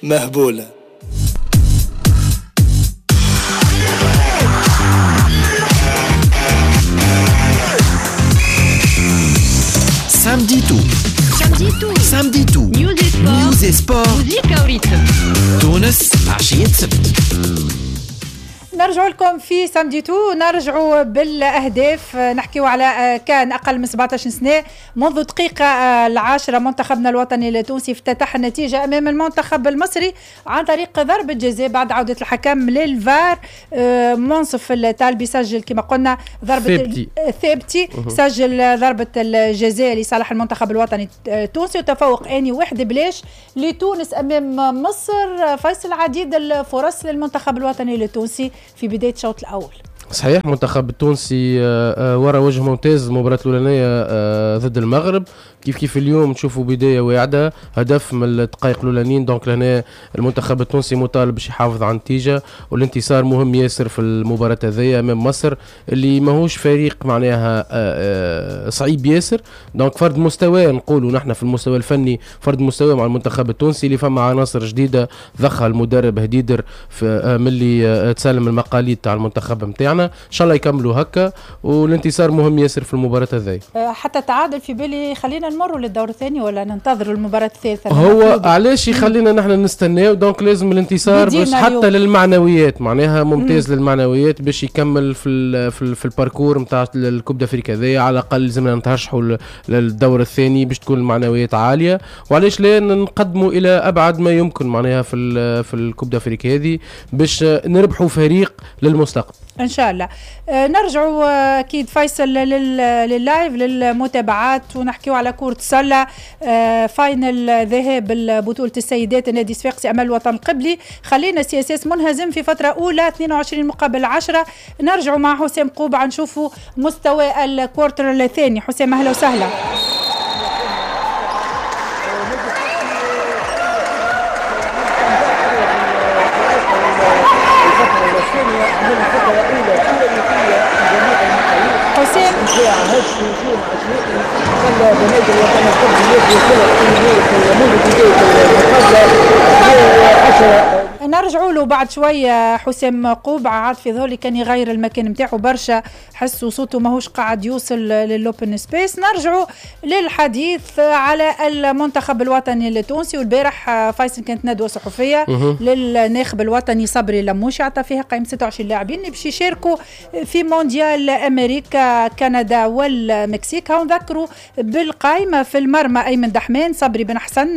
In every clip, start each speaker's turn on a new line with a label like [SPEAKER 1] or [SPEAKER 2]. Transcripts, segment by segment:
[SPEAKER 1] مهبولة.
[SPEAKER 2] Samedi tout. Samedi tout. Samedi tout. News et sport. تونس عشية سبت.
[SPEAKER 3] نرجع لكم في Samedi tout، نرجعوا بالاهداف، نحكيو على كان اقل من 17 سنة. منذ دقيقة 10 منتخبنا الوطني التونسي افتتح النتيجة امام المنتخب المصري عن طريق ضربه جزاء بعد عوده الحكم للفار. منصف الطالبي سجل كما قلنا ضربه ثابتي، سجل ضربه الجزاء لصالح المنتخب الوطني التونسي، وتفوق اني 1-0 لتونس امام مصر. فيصل، عديد الفرص للمنتخب الوطني التونسي في بداية الشوط الأول.
[SPEAKER 4] صحيح، المنتخب التونسي ورا وجه ممتاز المباراة الأولانية ضد المغرب، كيف كيف اليوم نشوفوا بداية واعدة، هدف من الدقائق الأولانيين. donc لهنا المنتخب التونسي مطالب باش يحافظ على النتيجة، والانتصار مهم ياسر في المباراة هذيا أمام مصر اللي ماهوش فريق معناها صعيب ياسر. donc فرد مستوى، نقولوا نحن في المستوى الفني فرد مستوى مع المنتخب التونسي اللي فما عناصر جديدة ضخها المدرب هديدر ملي تسلم المقاليد تاع المنتخب نتاعنا. ان شاء الله يكملوا هكا، والانتصار مهم ياسر في المباراة هذه.
[SPEAKER 3] حتى تعادل في بالي خلينا نمروا للدور الثاني ولا ننتظروا المباراة الثالثة؟
[SPEAKER 4] هو علاش يخلينا نحن نستناو؟ donc لازم الانتصار باش حتى للمعنويات، معناها ممتاز للمعنويات باش يكمل في ال parcours نتاع ال Coupe d'Afrique هذايا. على الاقل لازمنا نترشحوا للدور الثاني باش تكون المعنويات عالية، وعلاش لا نقدموا الى ابعد ما يمكن معناها في ال Coupe d'Afrique هذه باش نربحوا فريق للمستقبل
[SPEAKER 3] ان شاء الله. نرجعوا اكيد فيصل لل live للمتابعات، ونحكيو على كرة السلة. finale ذهاب بطولة السيدات النادي الصفاقسي امام الوطن القبلي، خلينا CSS منهزم في فترة اولى 22-10. نرجعوا مع حسام قوبعة نشوفوا مستوى ال quarter الثاني. حسام اهلا وسهلا. حسام نرجعوا له بعد شوية. حسام قوبعة عاد في ظهري كان يغير المكان نتاعو برشا، حسوا صوته ماهوش قاعد يوصل لل open space. نرجعوا للحديث على المنتخب الوطني التونسي. والبارح فيصل كانت ندوه صحفية للناخب الوطني صبري لموشي، عطى فيها قائمة 26 لاعبين باش يشاركوا في مونديال امريكا كندا والمكسيك. هاو نذكروا بالقائمه: في المرمى ايمن دحمان، صبري بن حسن،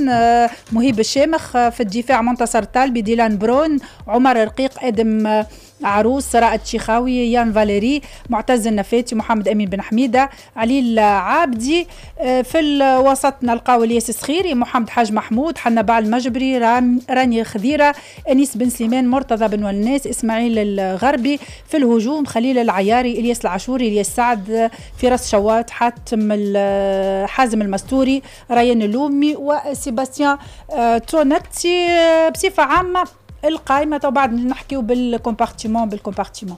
[SPEAKER 3] مهيب الشامخ، في الدفاع منتصر طالبي، ديلان برون، عمر رقيق، ادم عروس، رائد شيخاوي، يان فاليري، معتز النفاتي، محمد امين بن حميده، علي العابدي. في الوسط نلقاو الياس الصخيري، محمد حاج محمود، حنبال المجبري، راني خذيره، انيس بن سليمان، مرتضى بن وناس، اسماعيل الغربي. في الهجوم خليل العياري، الياس العاشوري، الياس سعد، فراس شوات، حاتم حازم المستوري، ريان اللومي، وسيباستيان تونتي. بصفة عامة القائمة، تو بعد نحكيو بال compartiment بال compartiment.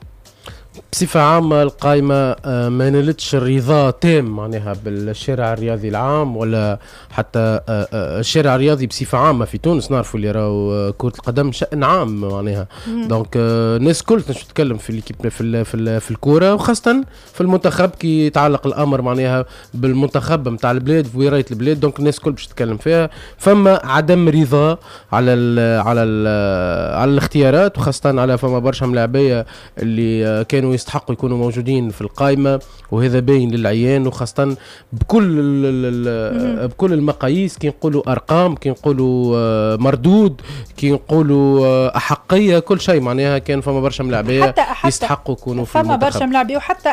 [SPEAKER 4] بصفة عامة القائمة ما نالتش الرضا تام معناها بالشارع الرياضي العام ولا حتى الشارع الرياضي بصفة عامة في تونس. نعرفوا اللي راهو كرة القدم شأن عام معناها، donc الناس الكل تتكلم في l'équipe في الكورة، وخاصة في المنتخب كي يتعلق الأمر معناها بالمنتخب نتاع البلاد وراية البلاد، donc الناس الكل باش تتكلم فيها. فما عدم رضا على ال على ال على الاختيارات، وخاصة على فما برشا ملاعبية اللي كانوا يستحقوا يكونوا موجودين في القائمة، وهذا باين للعيان، وخاصة بكل المقاييس. كي نقولوا أرقام، كي نقولوا مردود، كي نقولوا أحقية، كل شيء معناها كان فما برشا ملاعبية يستحقوا يكونوا في المنتخب. فما
[SPEAKER 3] برشا ملاعبية، وحتى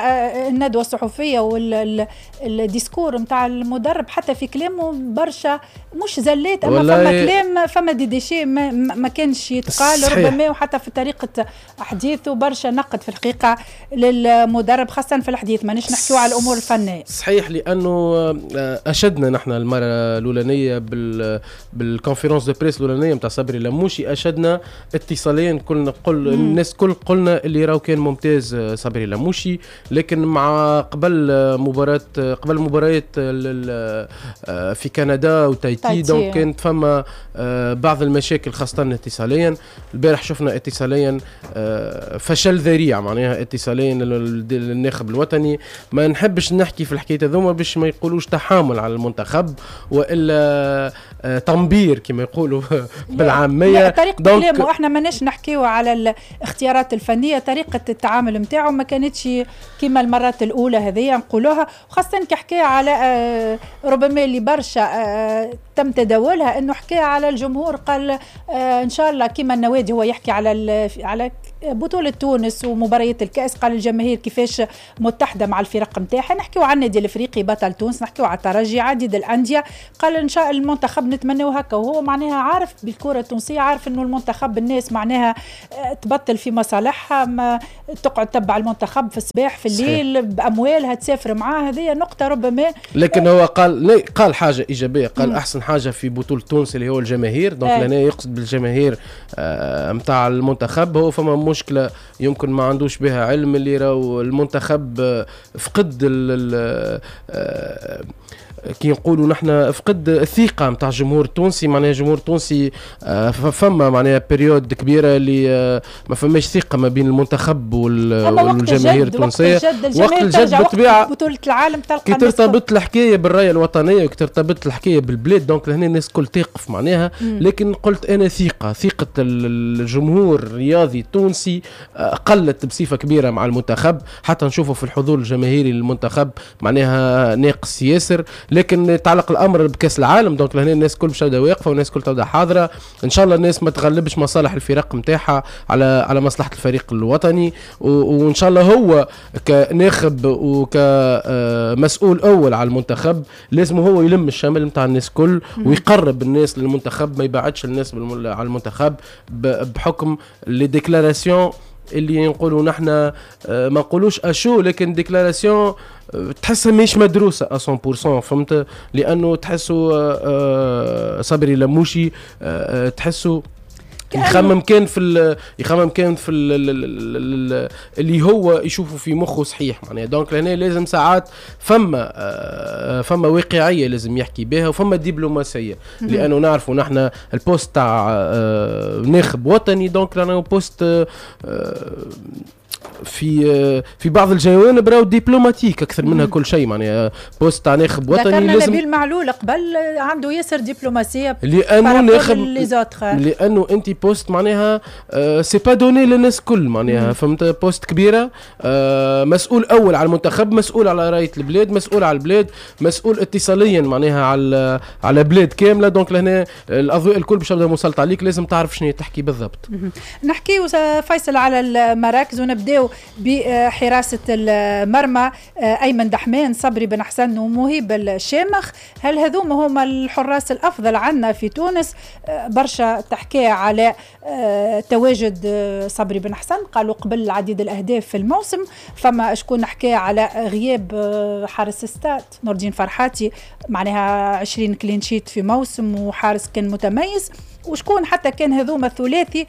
[SPEAKER 3] الندوة الصحفية وال discours نتاع المدرب حتى في كلامه برشا مش زلات، أما فما كلام، فما des déchets ما كانش يتقال ربما، وحتى في طريقة حديثه برشا نقد في الحقيقة للمدرب خاصة في الحديث، مانيش نحكيو على الامور الفنية.
[SPEAKER 4] صحيح، لانه اشدنا نحن المرة الاولانية بال conférence de presse الاولانية نتاع صبري لموشي، اشدنا اتصاليا، كلنا قل الناس كل قلنا اللي راهو كان ممتاز صبري لموشي، لكن مع قبل مباراة قبل مباريات في كندا وتايتي donc كانت فما بعض المشاكل خاصة اتصاليا. البارح شفنا اتصاليا فشل ذريع معناها اتصاليا للناخب الوطني. ما نحبش نحكي في الحكاية هذوما باش ما يقولوش تحامل على المنتخب والا تنبير كما يقولوا بالعامية.
[SPEAKER 3] طريقه كلامه، احنا ماناش نحكيو على الاختيارات الفنية، طريقه التعامل نتاعو ما كانتش كما المرات الاولى هذه نقولوها، وخاصة كحكايه على ربما اللي برشا تم تداولها انه حكى على الجمهور، قال ان شاء الله كما النوادي، هو يحكي على بطولة تونس ومباريات الكأس، قال الجماهير كيفاش متحدة مع الفرق نتاعها، نحكيو على النادي الافريقي بطل تونس، نحكيو على الترجي، عديد الأندية، قال ان شاء المنتخب نتمناو هكا، وهو معناها عارف بالكرة التونسية، عارف انه المنتخب الناس معناها تبطل في مصالحها، ما تقعد تتبع المنتخب في الصباح في الليل. بأموالها تسافر معاه، هذه نقطة ربما.
[SPEAKER 4] لكن هو قال حاجة إيجابية، قال أحسن حاجة في بطولة تونس اللي هو الجماهير، donc لهنا يقصد بالجماهير نتاع المنتخب. هو فما مشكلة يمكن ما عندوش بها علم، اللي راهو المنتخب فقد كي نقولوا نحن فقد الثقة نتاع الجمهور التونسي، معناها الجمهور التونسي فما معناها période كبيرة اللي ما فماش ثقة ما بين المنتخب والجماهير التونسية.
[SPEAKER 3] وقت الجد بالطبيعة بطوله العالم تلقى
[SPEAKER 4] كي ترتبط الحكاية بالرايه الوطنية وكي ترتبط الحكاية بالبلاد، donc لهنا الناس الكل تقف معناها. لكن قلت انا ثقة الجمهور الرياضي التونسي قلت بصفة كبيرة مع المنتخب، حتى نشوفه في الحضور الجماهيري للمنتخب معناها ناقص ياسر. لكن تعلق الامر بكاس العالم، donc لهنا الناس الكل باش تبدا واقفة والناس الكل تبدا حاضره. ان شاء الله الناس ما تغلبش مصالح الفرق نتاعها على مصلحة الفريق الوطني، وان شاء الله هو كناخب وكمسؤول اول على المنتخب لازم هو يلم الشمل نتاع الناس الكل ويقرب الناس للمنتخب، ما يبعدش الناس على المنتخب بحكم les déclarations اللي نقولوا نحن ما نقولوش à chaud، لكن déclaration تحسها مش مدروسة 100%، فهمت؟ لانه تحسوا صبري لموشي تحسوا يخمم كان في ال اللي هو يشوفه في مخه صحيح معناها. donc لهنا لازم ساعات فما واقعية لازم يحكي بها وفما دبلوماسيه، لانه نعرفوا نحن ال poste تاع ناخب وطني، donc لانه poste في بعض الجوانب راهو diplomatique اكثر منها كل شيء، معناها poste تاع ناخب وطني.
[SPEAKER 3] لازم نبيل معلول قبل عنده ياسر دبلوماسية.
[SPEAKER 4] لانه ناخب، لانه انت poste معناها c'est pas donné للناس الكل معناها، فهمت؟ poste كبيره، مسؤول اول على المنتخب، مسؤول على رايه البلاد، مسؤول على البلاد، مسؤول اتصاليا معناها على بلاد كامله، donc لهنا الاضواء الكل باش تبدا مسلط عليك، لازم تعرف شنو تحكي بالضبط.
[SPEAKER 3] نحكي فيصل على المراكز ونبداو بحراسة المرمى، أيمن دحمان، صبري بن حسن ومهيب الشامخ، هل هذوما هما الحراس الأفضل عندنا في تونس؟ برشا تحكي على تواجد صبري بن حسن، قالوا قبل عديد الأهداف في الموسم، فما شكون حكى على غياب حارس ستاد نور فرحاتي، معناها 20 clean sheet في موسم وحارس كان متميز، وشكون حتى كان هذوما الثلاثي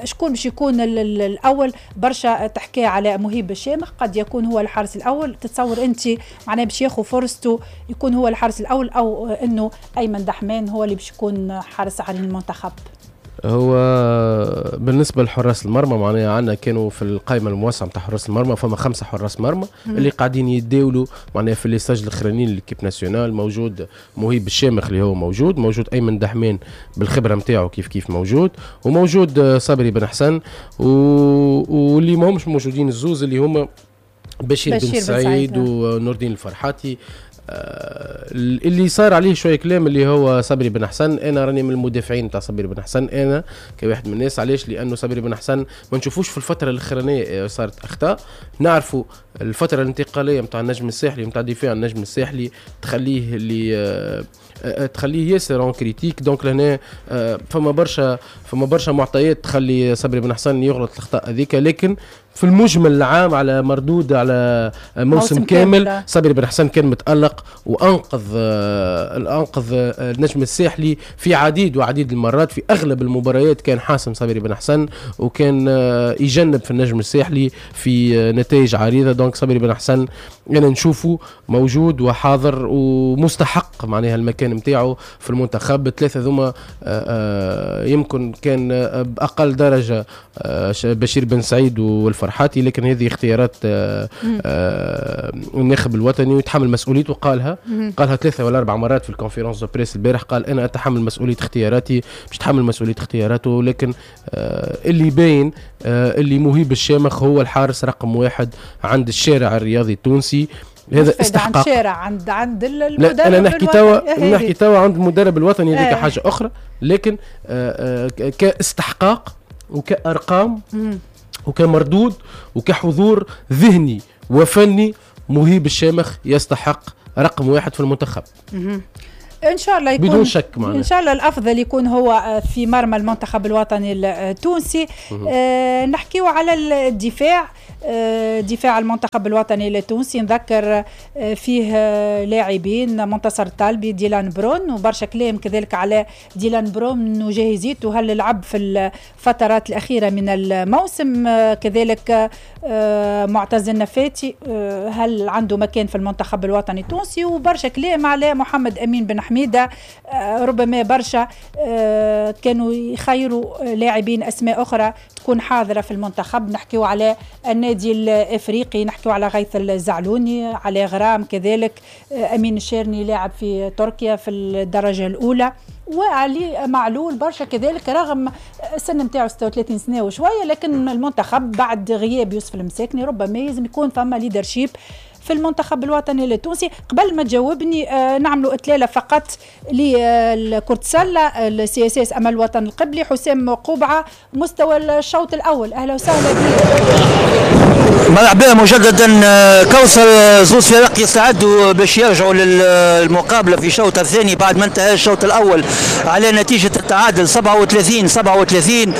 [SPEAKER 3] شكون باش يكون الاول؟ برشا تحكي على مهيب الشامخ قد يكون هو الحارس الاول، تتصور انت معناه باش ياخذ فرصته يكون هو الحارس الاول او انه ايمن دحمان هو اللي باش يكون حارس على المنتخب؟
[SPEAKER 4] هو بالنسبة لحراس المرمى معناها عندنا كانوا في القائمة الموسعه نتاع حراس المرمى فما خمسة حراس مرمى اللي قاعدين يتداولوا معناها في les stages الاخرانيين l'équipe nationale. موجود مهيب الشامخ اللي هو موجود ايمن دحمان بالخبرة نتاعو كيف كيف موجود، وموجود صبري بن حسن، واللي ما همش موجودين الزوز اللي هما بشير بن سعيد ونور الدين الفرحاتي. اللي صار عليه شوية كلام اللي هو صبري بن حسن، انا راني من المدافعين تاع صبري بن حسن، انا كواحد من الناس. علاش؟ لانه صبري بن حسن ما نشوفوش في الفترة الاخرانية صارت اخطاء، نعرفوا الفترة الانتقالية نتاع النجم الساحلي نتاع دفاع النجم الساحلي تخليه اللي تخليه ياسر en critique، donc لهنا فما برشا معطيات تخلي صبري بن حسن يغلط الاخطاء هذيك، لكن في المجمل العام على مردود على موسم كامل صابري بن حسن كان متألق وأنقذ النجم الساحلي في عديد وعديد المرات، في أغلب المباريات كان حاسم صابري بن حسن وكان يجنب في النجم الساحلي في نتائج عريضة. donc صابري بن حسن أنا نشوفه موجود وحاضر ومستحق معناها المكان متاعه في المنتخب. الثلاثة ذوما يمكن كان بأقل درجة بشير بن سعيد والفرحاتي، لكن هذه اختيارات الناخب الوطني ويتحمل مسؤوليته. قالها 3 ولا 4 مرات في ال conférence de presse البارح، قال انا اتحمل مسؤولية اختياراتي، مش تحمل مسؤولية اختياراته. لكن اللي باين اللي مهيب الشامخ هو الحارس رقم 1 عند الشارع الرياضي التونسي. هذا استحقاق
[SPEAKER 3] عند شارع عند المدرب.
[SPEAKER 4] لا انا نحكي توا عند المدرب الوطني، هذيك حاجة اخرى، لكن كاستحقاق وكارقام وكمردود وكحضور ذهني وفني مهيب الشامخ يستحق رقم 1 في المنتخب.
[SPEAKER 3] ان شاء الله يكون
[SPEAKER 4] بدون شك معنا.
[SPEAKER 3] ان شاء الله الافضل يكون هو في مرمى المنتخب الوطني التونسي. نحكيو على الدفاع، دفاع المنتخب الوطني التونسي نذكر فيه لاعبين منتصر الطالبي، ديلان برون، وبرشا كلام كذلك على ديلان برون وجاهزيته، هل لعب في الفترات الأخيرة من الموسم. كذلك معتز النفاتي هل عنده مكان في المنتخب الوطني التونسي، وبرشا كلام على محمد أمين بن حميدة. ربما برشا كانوا يخيروا لاعبين أسماء أخرى تكون حاضرة في المنتخب. نحكيو على النادي الافريقي، نحكيو على غيث الزعلوني، على غرام كذلك، امين الشيرني لاعب في تركيا في الدرجة الاولى، وعلي معلول برشا كذلك رغم السن نتاعو 36 سنة وشوية، لكن المنتخب بعد غياب يوسف المساكني ربما لازم يكون فما leadership في المنتخب الوطني التونسي. قبل ما تجاوبني نعملوا اطلالة فقط لكرة السلة ال CSS امل الوطن القبلي، حسام قوبعه مستوى الشوط الاول، اهلا وسهلا بك.
[SPEAKER 1] مرحبا مجددا كوثر. زوج فرق يستعدوا باش يرجعوا للمقابله في الشوط الثاني بعد ما انتهى الشوط الاول على نتيجة التعادل 37-37.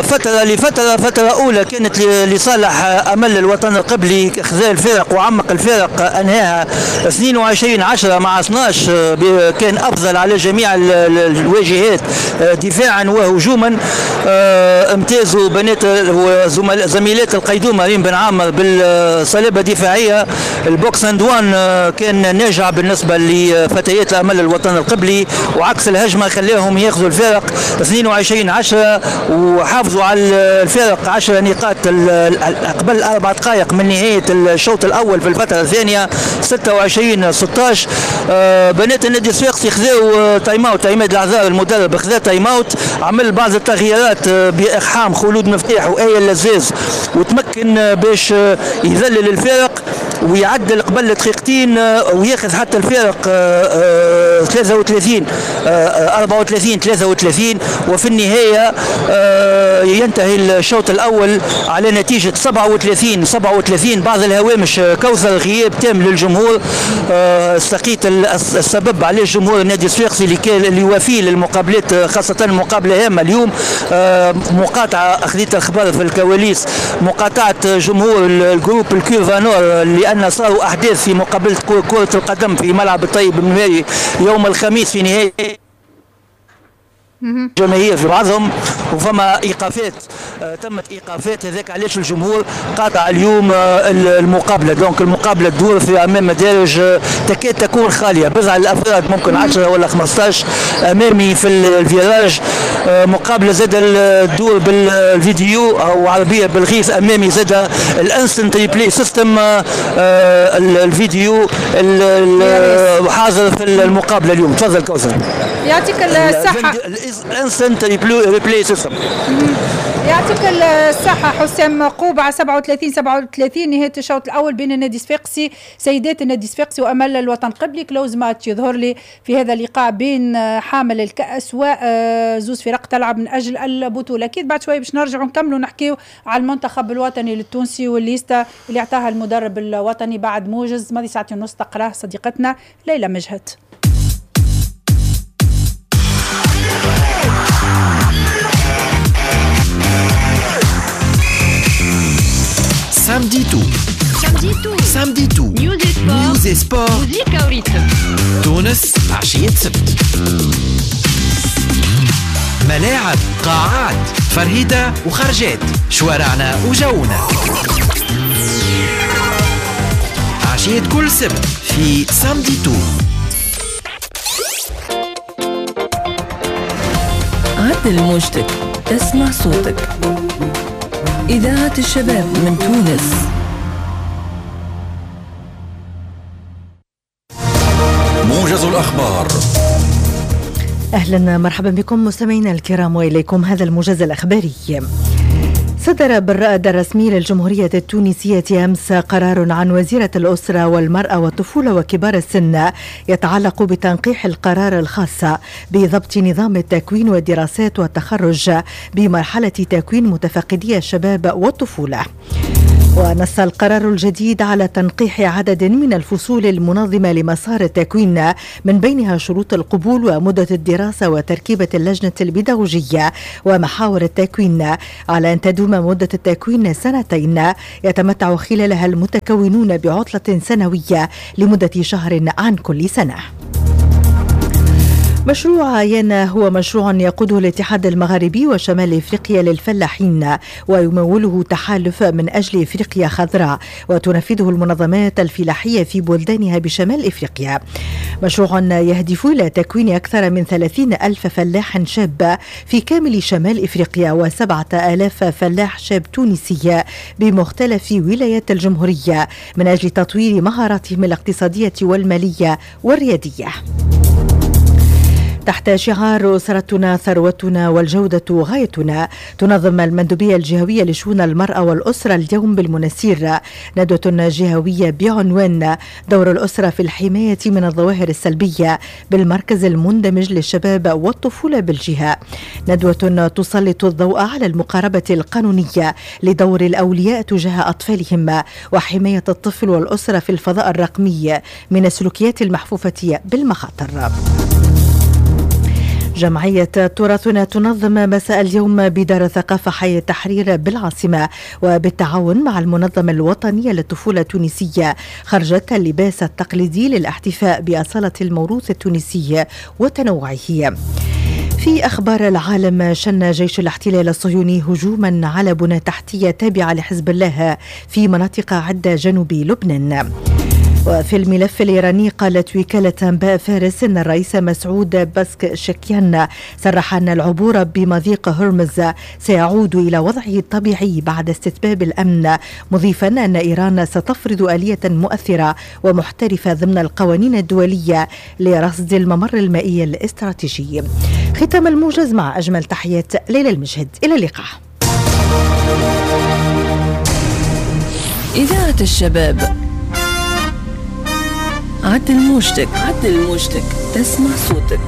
[SPEAKER 1] فترة لفترة، فترة اولى كانت لصالح امل الوطن القبلي، خذا الفرق وعمق الفارق، انهاها 22-10 مع 12، كان افضل على جميع الواجهات دفاعا وهجوما. امتازوا بنات زميلات القيدومه ريم بن عامر بالصلابه الدفاعية. ال box and one كان ناجع بالنسبة لفتيات الامل الوطن القبلي، وعكس الهجمة خلاهم ياخذوا الفارق 22-10 وحافظوا على الفارق 10 نقاط قبل 4 دقائق من نهاية الشوط الاول. في الفترة الثانية 26-16 بنات النادي الصفاقسي خذاو time out، عماد العذار المدرب خذا time out، عمل بعض التغييرات باقحام خلود مفتاح وآية اللزاز، وتمكن باش يذلل الفارق ويعدل قبل دقيقتين وياخذ حتى الفارق 33 34-33. وفي النهاية ينتهي الشوط الأول على نتيجة 37-37. بعض الهوامش كوثر، غياب تام للجمهور، استقيت السبب عليه جمهور النادي الصفاقسي اللي وافي للمقابلات، خاصة مقابلة هامة اليوم. مقاطعة، أخذت الخبر في الكواليس، مقاطعة جمهور ال groupe ال curve nord، لأن صاروا أحداث في مقابلة كرة القدم في ملعب الطيب المناري يوم الخميس في نهاية جماهير في بعضهم، وفما ايقافات، تمت ايقافات، هذاك علاش الجمهور قاطع اليوم المقابلة. donc المقابلة تدور في امام مدارج تكاد تكون خالية، بضع الافراد ممكن 10 ولا 15 امامي في ال virage. مقابله زاد تدور بالفيديو او عربية بالغيث امامي، زاد ال instant replay system الفيديو حاضر في المقابلة اليوم. تفضل كوثر.
[SPEAKER 3] يعطيك الصحة.
[SPEAKER 1] ال instant replay system.
[SPEAKER 3] يعطيك الصحة حسام قوبعة. 37-37 نهاية الشوط الأول بين النادي الصفاقسي، سيدات النادي الصفاقسي وأمل الوطن قبلي. close match يظهر لي في هذا اللقاء بين حامل الكأس وزوز فرق تلعب من أجل البطولة. أكيد بعد شوي باش نرجعوا نكملوا نحكيو على المنتخب الوطني للتونسي والليستة اللي اعطاها المدرب الوطني بعد موجز ماضي ساعتين ونص تقراه صديقتنا ليلى مجهد.
[SPEAKER 2] Samedi tout. News et sport. تونس عشية سبت. ملاعب، قاعات، فرهدة وخرجات، شوارعنا وجونا. عشية كل سبت في Samedi tout.
[SPEAKER 5] عدل موجتك، اسمع صوتك. إذاعة الشباب من تونس.
[SPEAKER 6] موجز الأخبار.
[SPEAKER 7] أهلا مرحبا بكم مستمعينا الكرام، وإليكم هذا الموجز الأخباري. صدر بالرأد الرسمي للجمهورية التونسية أمس قرار عن وزيرة الأسرة والمرأة والطفولة وكبار السن يتعلق بتنقيح القرار الخاص بضبط نظام التكوين والدراسات والتخرج بمرحلة تكوين متفقدي الشباب والطفولة. ونص القرار الجديد على تنقيح عدد من الفصول المنظمة لمسار التكوين، من بينها شروط القبول ومدة الدراسة وتركيبة اللجنة البيداغوجية ومحاور التكوين، على أن تدوم مدة التكوين سنتين يتمتع خلالها المتكونون بعطلة سنوية لمدة شهر عن كل سنة. مشروع يانا هو مشروع يقوده الاتحاد المغاربي وشمال افريقيا للفلاحين، ويموله تحالف من اجل افريقيا خضراء، وتنفذه المنظمات الفلاحية في بلدانها بشمال افريقيا. مشروع يهدف الى تكوين اكثر من 30 ألف فلاح شاب في كامل شمال افريقيا و7000 فلاح شاب تونسي بمختلف ولايات الجمهورية من اجل تطوير مهاراتهم الاقتصادية والمالية والرياديه. تحت شعار أسرتنا ثروتنا والجودة غايتنا، تنظم المندوبية الجهوية لشؤون المرأة والأسرة اليوم بالمنسير ندوة جهوية بعنوان دور الأسرة في الحماية من الظواهر السلبية بالمركز المندمج للشباب والطفولة بالجهة. ندوة تسلط الضوء على المقاربة القانونية لدور الأولياء تجاه أطفالهم وحماية الطفل والأسرة في الفضاء الرقمي من السلوكيات المحفوفة بالمخاطر. جمعية تراثنا تنظم مساء اليوم بدار الثقافة حي التحرير بالعاصمة وبالتعاون مع المنظمة الوطنية للطفولة التونسية خرجت اللباس التقليدي للاحتفاء بأصالة الموروث التونسي وتنوعه. في أخبار العالم، شن جيش الاحتلال الصهيوني هجوما على بنى تحتية تابعة لحزب الله في مناطق عدة جنوب لبنان. وفي الملف الإيراني، قالت وكالة أنباء فارس إن الرئيس مسعود بزشكيان صرح أن العبور بمضيق هرمز سيعود إلى وضعه الطبيعي بعد استتباب الأمن، مضيفا أن إيران ستفرض آلية مؤثرة ومحترفة ضمن القوانين الدولية لرصد الممر المائي الاستراتيجي. ختام الموجز مع أجمل تحيات ليلى المجهد، إلى اللقاء.
[SPEAKER 5] إذاعة الشباب، عدل موجتك، عدل موجتك، تسمع صوتك.